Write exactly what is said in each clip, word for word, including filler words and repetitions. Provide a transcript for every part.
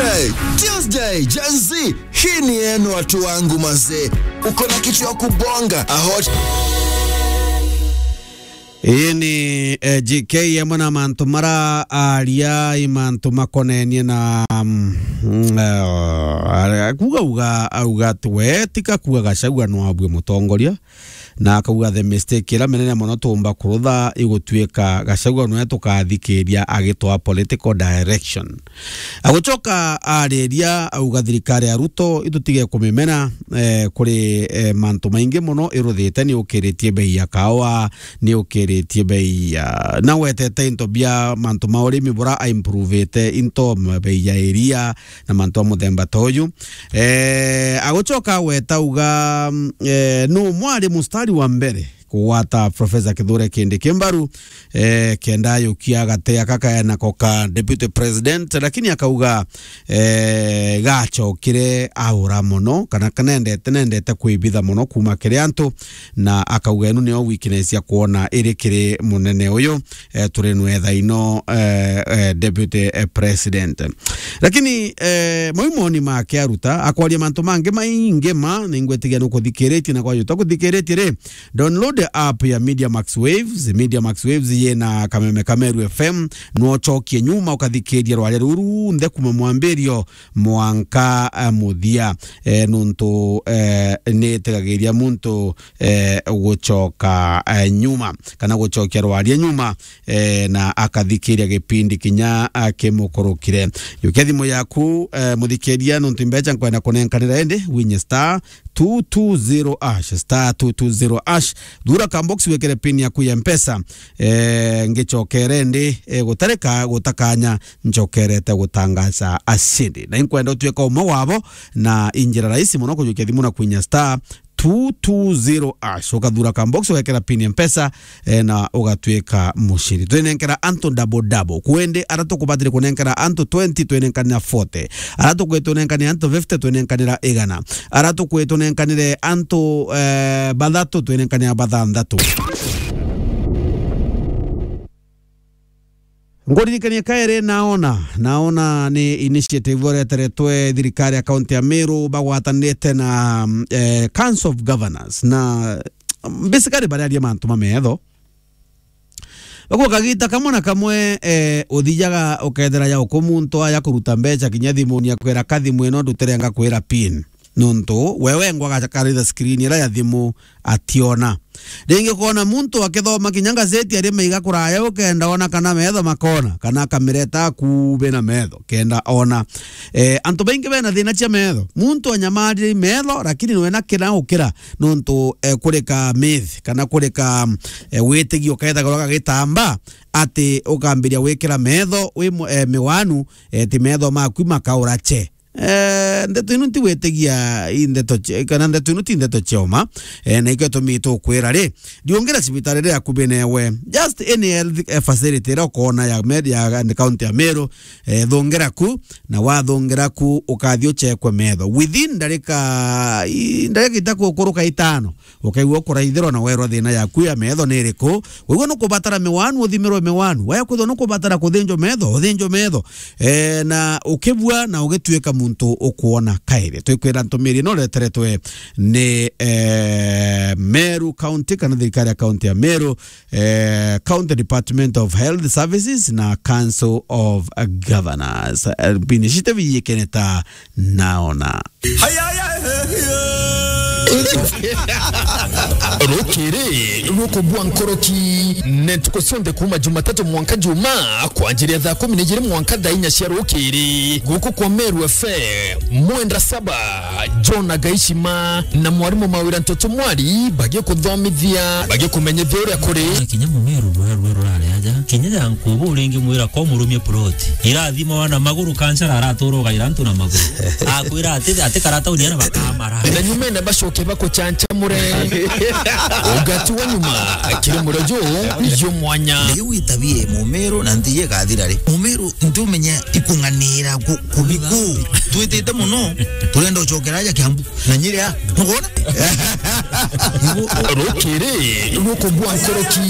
Hey, Tuesday, Gen Z, hii ni yenu watu wangu mazee. Uko na kitu ya kubonga, a hot Ii ni, eh, G K amwe na mantu mara aria i mantu makonenie na, mm, eh, kuga uga, auga ati we tika kuga Gachagua no abue mutongoria, na akauga the mistake ira minene mono tuumba kurutha igutuika Gachagua nwe tukathikiria agitwaa political direction. Agucoka ariria auga thirikari ya Ruto itutige kumimena, eh, kuri, eh, mantu maingi mono iruthite, ni ukiritie bei ya kawa, ni ukiritie bei ya, na wetete into bia mantu ma urimi bura aimprovite into, m-, bei ya iria na mantu a muthemba ta uyu. Eh, agucoka agweta auga, mm, eh, nu mwari mustari wa mbere kugwata Professor Kithure Kindiki mbaru, eh, kenda ayukia gate aka kaenako ka deputy president, lakini akauga, eh, gacokire aura mono, kana kanendete, nendete kwibitha mono kuma kiri antu, na akauga inu nio weakness ya kuona iri kiri munene uyu, eh, turi nwetha ino, eh, eh, deputy, eh, president. Lakini, eh, mau moni make aruta, akwaria mantu mangi maingi ma, ningwetigia nukuthikiritie na kwajuta kuthikiritie ri, download app ya Media Max Waves. Media Max Waves yina kameme ka Meru F M, nwocokie nyuma ukathikiria rwaria ruru nthe kuma mwambirio mwanka, eh, muthia. Eh, nuntu, eh, nitegagiria muntu, eh, gucoka, eh, nyuma, kana gucokia rwaria nyuma, eh, na akathikiria gipindi kinya akimukurukire. Jukia thimu yaku, eh, muthikiria, nuntu imbeca nkwenda kunenkanira indi winye star two two zero hash, star two two zero hash. Thura ka box wikire pin yaku ya Mpesa. Eh, ngicokere ndi, eh, gutarika gutakanya, ncokerete gutangaza acindi. Na inkwenda utuika umwe wabo, na injira rahisi mono kujukia thimu na kwinya star two two zero hash. Ukathura ka box, ugekira pin ya Mpesa, eh, na ugatuika mucindi. Twinenkera antu double double. Kwendi ara tukubatire kunenkera antu twenty, twinenkanira forty. Ara tukwitwo nenkanire antu fifty, twinenkanira igana. Ara tukwitwo nenkanire antu, eh, bathatu, twinenkanira bathanthatu. Nguririkanie kairi, naona, naona ni initiative ireteretwe thirikari ya kaunti ya Meru bagwatanirite na, mm, eh, Council of Governors na, mm, basically bararia mantu ma metho. Bakuga kagita kamwe na kamwe, eh, uthijaga ukethira ya uku muntu aja kuruta mbeca kinya thimuni akwira, "Ka thimu ino ndutire ngakwira pin." Nuntu we wengwa agakaritha screen ira ya thimu ationa. Ringi ukona muntu akithoma kinya ngazeti ari maiga kuraya, ukenda ona kana metho makona, kana akamireta akubi na metho kenda ona. Eh, antu baingi bena thina cia metho. Muntu anyamarire metho, lakini nwena kina ukira nuntu, eh, kurika myth, kana kurika, eh, witigio kethagirwa gagitamba ati ukambiria gwikira metho wi mu-, eh, miwanu, eh, ti metho maku makaura che. Eh, ndeto ino nti gwitigia i ndeto cia, kana ndeto ino ti ndeto cia uma, eh, na ikio tumi tukwira ri, riungira cibitari riria akubi newe. Just any health, eh, facility iria ukona ya Meru, ya, ya county ya Meru, eh, thungira ku, na wathungira ku, ukathi uchekwe metho. Within ndarika, i, ndarika itakukuruka itano, ukaigua ukuraithirwa na werwa thina yaku ya metho ni iriku. Wigua nukubatara miwanu, uthimirwe miwanu. Waya kwithwa nukubatara kuthinjwa metho, uthinjwe metho. Eh, na ukibua na ugituika muntu ukuona kairi. Twikwira ntumiri ino ireteretwe ni, eh, Meru County, kana thirikari ya county ya Meru, eh, County Department of Health Services na Council of Governors. Eh, initiative yikene ta naona. Rukiri rukubua nkoroki, ne ntuku cionthe kuuma Jumatatu mwanka Juma, kwanjiria thaa kumi na ijiri mwanka thaa inya cia rukiri, guku kwa Meru F M, Mwenda Saba, John Agaishima na mwarimu Mawira Ntoto Mwari bagikuthomithia, bagikumenyithia uria kuri. Kinya mumeru rwe rwe rurare aja. Kinya ya nkubu uringi mwira ko murumie plot. Irathima wana maguru kanchara aratura ugaira antu na maguru. Akwira ati, ati karata uniana bakamara. Na nyuma ina bacoke bakuchanchamure. Ugati wa nyuma, kiri murojo, yo mwanya. Riu witabie mumeru na nthi igathira ri. Mumeru ntumenya ikung'anira ku-, kubiku. Twitite muno, turenda ucokera aja Kiambu. Na Nyeri a, nukwona? Rukiri rukubua nkoroki.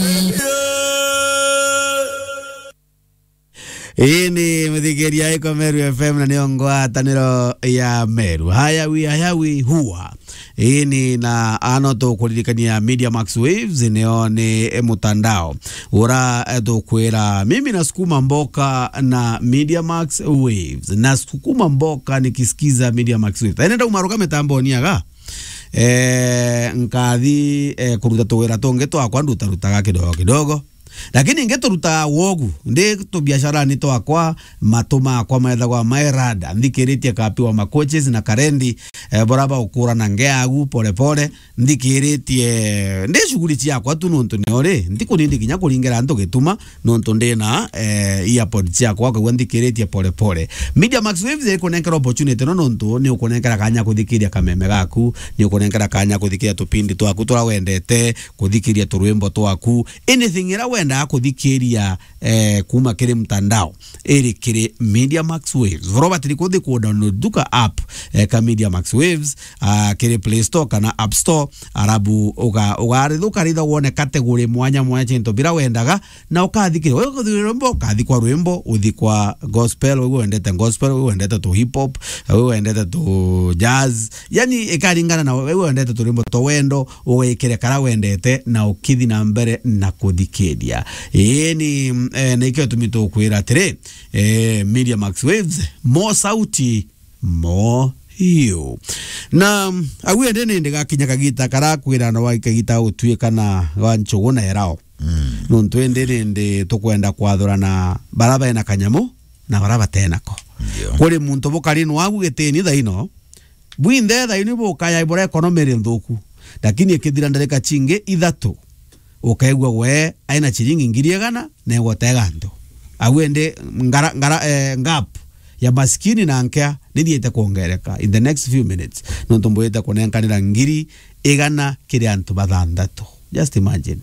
Ii ni muthikiria iko Meru F M na niyo ngwataniro ya Meru. Hayawi, hayawi, hua. Ii ni na ano tukuririkania Media Max Waves, niyo ni mutandao. Ura, eh, tukwira, mimi nasukuma mboka na Media Max Waves. Nasukuma mboka nikisikiza Media Max Waves. Ene ndauma ruga mitamboni aga. Eh, nkathi, eh, kuruta tuwira tungi twakwa ndutarutaga kidogo kidogo. Lakini ingi turutaga wogu, ndi tubiacarani twakwa, matu makwa methagwa mairada, nthikiritie Kapi wa Macoaches na Karendi, eh, bora baukura na ngeagu pole pole, nthikiritie, ndi shughuli ciakwa tu nontu ni uri, ntikunindi kinya kuringira antu gituma, nontu ndi na, eh, earpods ciakwa, ukaigua nthikiritie pole pole. Media Max Waves ikunenkera opportunity no nontu ni ukunenkera kanya kuthikiria kameme gaku, ni ukunenkera kanya kuthikiria tupindi twaku tura wendete, kuthikiria turwimbo twaku, anything ira wendaa kuthikiria, eh, kuma kiri mtandao, iri kiri Media Max Waves. Voro batiri kuthi ku download duka app, eh, ka Media Max Waves, ah, kiri Play Store kana App Store, arabu uga-, ugaritha, ukaritha wone category mwanya mwanya cintu bira wendaga, na ukathikira. Wewe ukathi rwimbo, ukathi kwa rwimbo, uthi kwa gospel, wewe wendete gospel, wewe wendete tu hip hop, wewe wendete tu jazz, yani, ikaringana na wewe wendete turwimbo twa wendo, ugekire kara wendete na ukithi na mbere na kuthikiria. Ii ni, eh, na ikio tumi tukwira atiri, eh, Media Max Waves, mo sauti, mo hiu. Na, mm, au ende ni ndigakinya kagita kara kwira no wa kagita utuika na wa nchugu na erao. Mm. Nontu indi ni ndi tukwenda kwathurana bara bena kanyamu na bara batenako. Ndio. Kuri muntu bukari nwagu gitini thaino, bwinthe thaino bukaya ibura economy iri nthuku. Lakini ikithira ndarika cingi ithatu, ukaigua we aina ciringi ngiri igana na egotega antu. Au indi ngara, ngara, eh, gap ya maskini na nkea nithiite kwongereka in the next few minutes. Nontu mbwite kunenkanira ngiri igana kiri antu bathanthatu. Just imagine.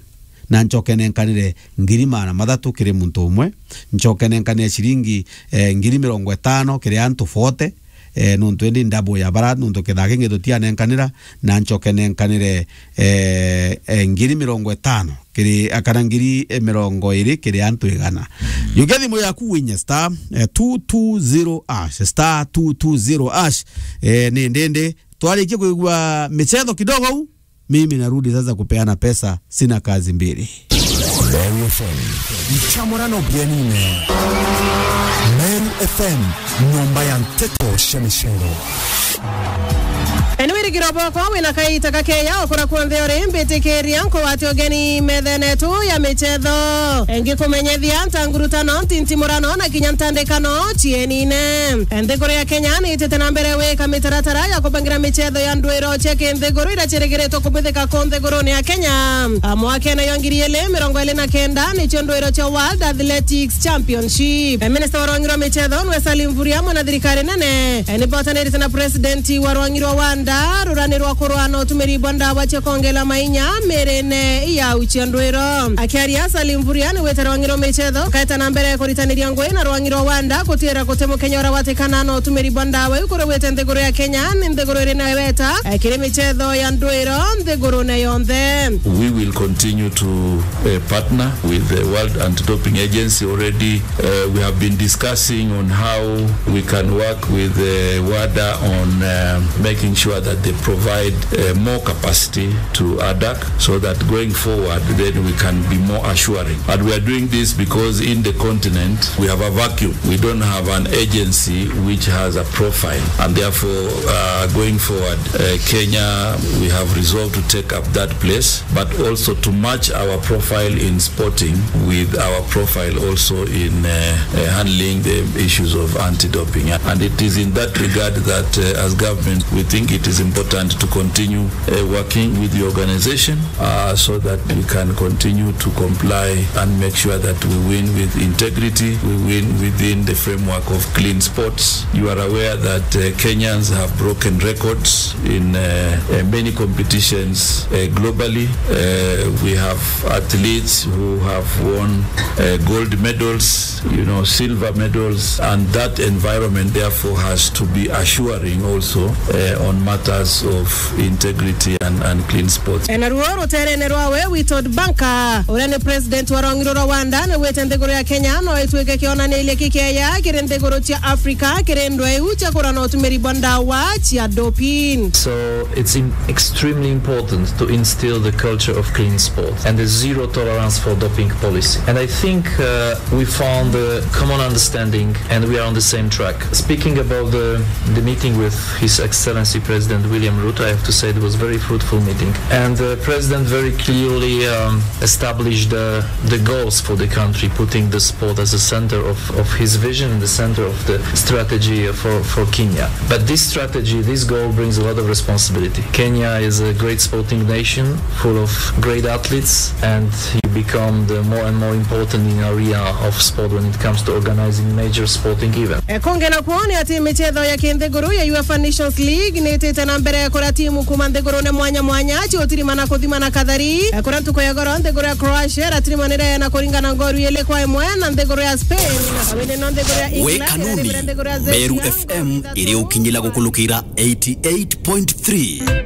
Na nchoke nenkanire ngiri magana mathatu kiri muntu umwe, nchoke nenkanire ciringi, eh, ngiri mirongo itano kiri antu forty, eh, nontu indi double ya bara, nontu kithaa kingi tutianenkanira, na nchoke nenkanire, eh, eh, ngiri mirongo itano kiri, akana ngiri, eh, mirongo iri kiri antu igana. Mm. Yukia thimu yaku winye star, eh, two two zero hash, star two two zero hash, eh, ni ndindi, twarikia kuigua michetho kidogo u, mimi narudi sasa kupeana pesa, sina kazi mbili. Meru F M. Nchamurano bienine. Meru F M, nyomba ya nteto cia michetho. Eni wirigiro bwakwa wina kaita gakeya ukura kuonthe uri, mbitikiria nkugwate ugeni methene tu ya michetho. Ngikumenyethia ntangurutano, ntintimurano na kinya ntandikano cienine. Nthiguru ya Kenya ni itite na mbere wika mitaratara ya kubangira michetho ya ndwiro cia kinthiguru iria ciirigiritwe kubuthika ku nthigurune ya Kenya. A, mwakene jwa ngiri ili mirongo ili na kenda nicio ndwiro cia World Athletics Championship. E, minista wa rwangi rwa michetho nwe Salim Mvurya, mwana thirikari nene, e, ni botanirite na president wa rwangi rwa Wanda rurani rwa kurwa na utumiri bwa ndawa cia kongela mainya mirine ya ucia ndwiro. Akiaria, Salim Mvurya ni wite rwangi rwa michetho kaeta na mbere kuritaniria ngui na rwangi rwa Wanda kutira guti mukenya ura watikana na utumiri bwa ndawa iu kuri wite nthiguru ya Kenya ni nthiguru iri na weta, e, kiri michetho ya ndwiro nthigurune yonthe. We will continue to, uh, partner with the World Anti-Doping Agency. Already, uh, we have been discussing on how we can work with, uh, Wada on, uh, making sure that they provide, uh, more capacity to ADAK, so that going forward, then we can be more assuring. And we are doing this because in the continent, we have a vacuum. We don't have an agency which has a profile. And therefore, uh, going forward, uh, Kenya, we have resolved to take up that place, but also to match our profile in sporting with our profile also in, uh, uh, handling the issues of anti-doping. And it is in that regard that, uh, as government, we think it is important to continue, uh, working with the organization, uh, so that we can continue to comply and make sure that we win with integrity, we win within the framework of clean sports. You are aware that, uh, Kenyans have broken records in, uh, uh, many competitions, uh, globally. Uh, we have athletes who have won, uh, gold medals, you know, silver medals, and that environment therefore has to be assuring also, uh, on Pillars of integrity and, and clean sports. E, naruo ruterene rwawe, Witold Banka, uria ni president wa rwang'i rwa Rwanda, ni gwite nthiguru ya Kenya no itwike kionaniria kikeya kiri nthiguru cia Africa kiri ndweu cia kurana utumiri bwa ndawa cia doping. So it's im-, extremely important to instill the culture of clean sport and the zero tolerance for doping policy. And I think, uh, we found a common understanding and we are on the same track. Speaking about the, the meeting with His Excellency President William Ruto, I have to say it was a very fruitful meeting. And the President very clearly, um, established the, the goals for the country, putting the sport as a center of, of his vision and the center of the strategy for, for Kenya. But this strategy, this goal brings a lot of responsibility. Kenya is a great sporting nation, full of great athletes, and you become the more and more important in area of sport when it comes to organizing major sporting events. E, kungi nakuo ni ati michetho ya kinthiguru ya UEFA Nations League ni itite na mbere kuria timu kuma nthigurune mwanya mwanya ciutirimana kuthimana kathari. E, kuria ntuku ya goro nthiguru ya Croatia iratirimanire na kuringana ngoru ili kwa imwe na nthiguru ya Spain. Awene no nthiguru ya England irarivire nthiguru ya Czechia. Meru F M iri ukinyila gukulukira eighty-eight point three.